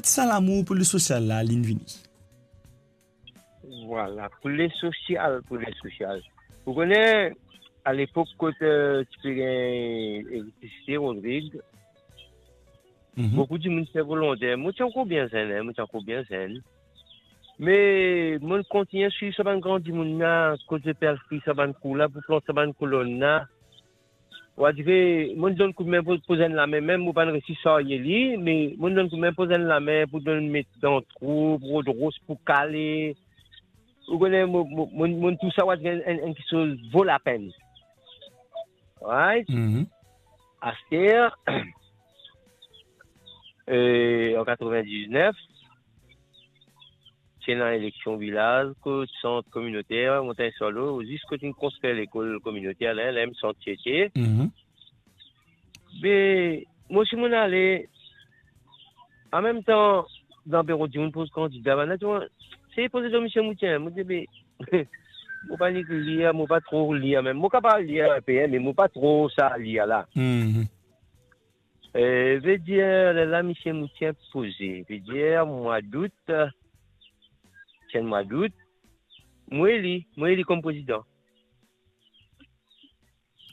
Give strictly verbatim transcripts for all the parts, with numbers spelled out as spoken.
sa lamour pou lesosial la, linn vini? Vwala, pou lesosial, pou lesosial. Ou kone, alepok kot, eh, ti pe gagn elektrisite, Rodrig, Mhm. boukou dimoun ti volonter. Mo ti ankor bien zenn, hein, mo ti ankor bien zenn. Me mo kontign swiv sa bann gran dimoun la, kot zot pe al fouy sa bann kou la, pou plant sa bann kolonn la. Ou a dir, mo donn koudme pou, pou zenn lame, mem mo pa resi sarye li, me mo donn koudme pou zenn lame, pou donn met dan trou, pou rod ros, pou kale. Ou kone, mo, mo, mo, mo tousa, ou a dir enn, enn, enn kiksoz vo lapenn. Right? Mhm. Aster, eh, an katrevin-diznef, ti ena eleksion vilaz, kot sant kominoter, Montagne Charlot, zis kot inn konstrir lekol kominoter la, la mem sant ti ete. Mhm. Be, mo si mo'nn ale, an mem tan, dan biro dimoun poz kandida, bann la, ti, se poze dan misie Moutien, mo dir, be, mo pa nek lir, mo pa tro lir mem. Mo kapav lir inpe, hein, me mo pa tro sa lir la. Mhm. Eh, vedir, lerla misie Moutien poze, vedir mwa dout, ti enn mwa dout, mo eli, mo eli kom prezidan.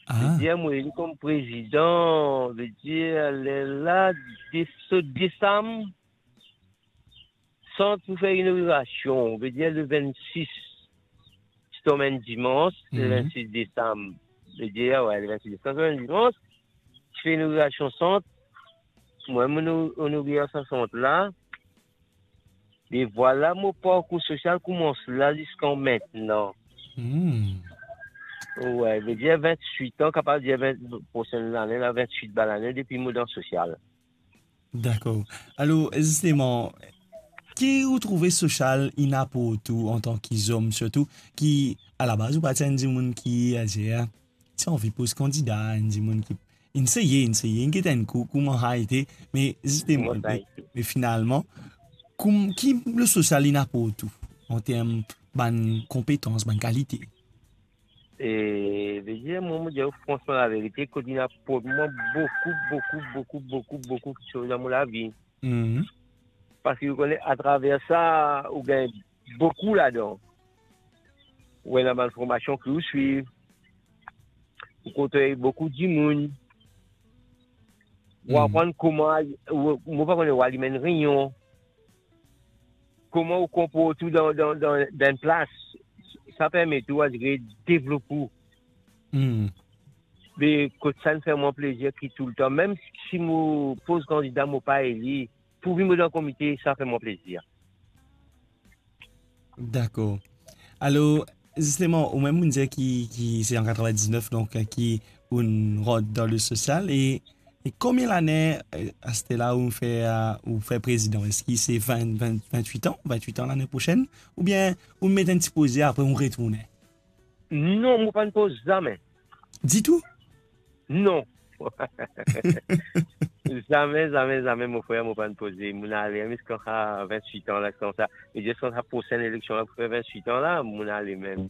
Ah. Vedir mo eli kom prezidan, vedir lerla de-, so desam, sant pou fer inogirasion, vedir le vennsis, ti tonm enn dimans, le Mhm. vennsis desam, vedir, we, le vennsis desam, ti tonm enn dimans, ti fer inogirasion sant, mwa mo ino-, inogir sa sant la, e vwala mo parkour sosial koumans la ziska mintenan. Hmm. We, vedir vintwit an, kapav dir vin, prosenn lane la, vintwit bann lane depi mo dan sosial. Dakor. Alor, zisteman, ki ou trouve sosial inn aport ou antan ki zom, sirtou ki, alabaz, ou pa ti enn dimoun ki, adir, ti anvi poz kandida, enn dimoun ki inn seye, inn seye, inn get enn kou, kouma sa ete, me zisteman, Kouma sa me, ete. me finalman, koum-, ki lesosial inn aport ou an term bann konpetans, bann kalite? E, vedir, mwa, mo dir ou fransman laverite, kot inn aport mwa boukou, boukou, boukou, boukou, boukou kiksoz dan mo lavi. Mhm. Parski ou kone, atraver sa, ou gagn boukou ladan. Ou ena bann formasion ki ou swiv, ou kontrer boukou dimoun, ou Hmm. aprann kouma, ou, mo pa kone, ou alim enn reynion, kouma ou konport ou dan, dan, dan, dan enn plas, sa permet ou, adir, devlop ou. Hmm. Me kot sa inn fer mwa plezir ki toultan, mem si mo poz kandida, mo pa eli, pourvi mo dan komite, sa fer mwa plezir. Dakor. Alor, zisteman, ou mem ou'nn dir ki, ki se an katrevin-diznef, donk, ki ou'nn rant dan lesosial, e, e konbien lane, eh, aster la ou fer, eh, ou fer prezidan? Eski se vin, vin, vintwit an, vintwit an lane prosenn, oubien ou met enn ti poze, apre ou retourne? Non, mo pa'nn poz zame. Ditou? Non. Zame, zame, zame, mo frer, mo pa'nn poze. Mo'nn ale mem ziska vintwit an la, koumsa. E ziska sa prosenn eleksion la, pou fer vintwit an la, mo'nn ale mem.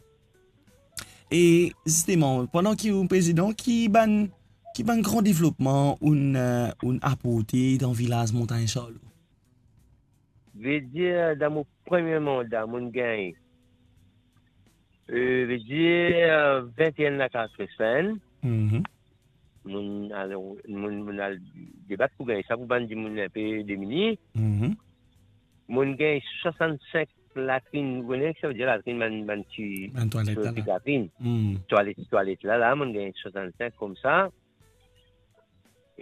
E zisteman, pandan ki ou prezidan, ki bann, ki bann gran devlopman ou'nn, eh, ou'nn aporte dan vilaz Montagne Charlot? Vedir, dan mo premie manda, mo'nn gagn, eh, vedir, vinteenn lakaz Fresh Fine. Mhm. Mo'nn al, mo'nn, mo'nn al debat pou gagn sa pou bann dimoun inpe demini. Mhm. Mo'nn gagn swasannsink latrinn, ou kone ki savedir latrinn, bann, bann ti, Bann twalet ti la, la. Latrinn. Hmm. Twalet, twalet la, la, mo'nn gagn swasannsink koumsa.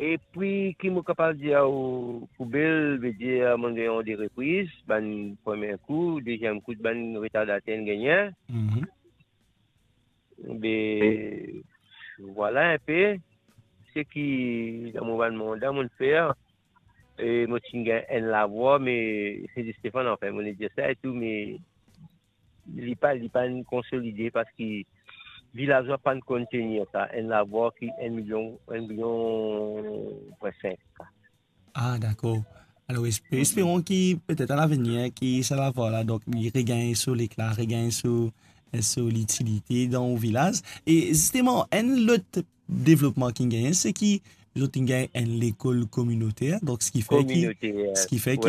Epi, ki mo kapav dir ou, poubel, vedir, mo'nn gagn an de repriz, bann premie kou, deziem kou, bann retardatater inn gagn. Mhm. Be, vwala inpe seki dan mo bann manda mo'nn fer. E mo ti gagn enn lavwar, me se Di Stefan, anfin, mo'nn dir sa e tou, me li pa, li pa'nn konsolide parski vilazwa pa'nn konn tenir sa, enn lavwar ki enn milion, enn milion pwin sink. Ah, dakor. Alor, espe-, Mhm. esperon ki petet a lavenir, ki sa lavwar la, donk, li regagn so lekla, regagn so, so litilite dan ou vilaz. E zisteman, enn lot devlopman ki gagn, se ki zot inn gagn enn lekol kominoter, donk, seki fer ki, Kominoter, seki fer ki wi,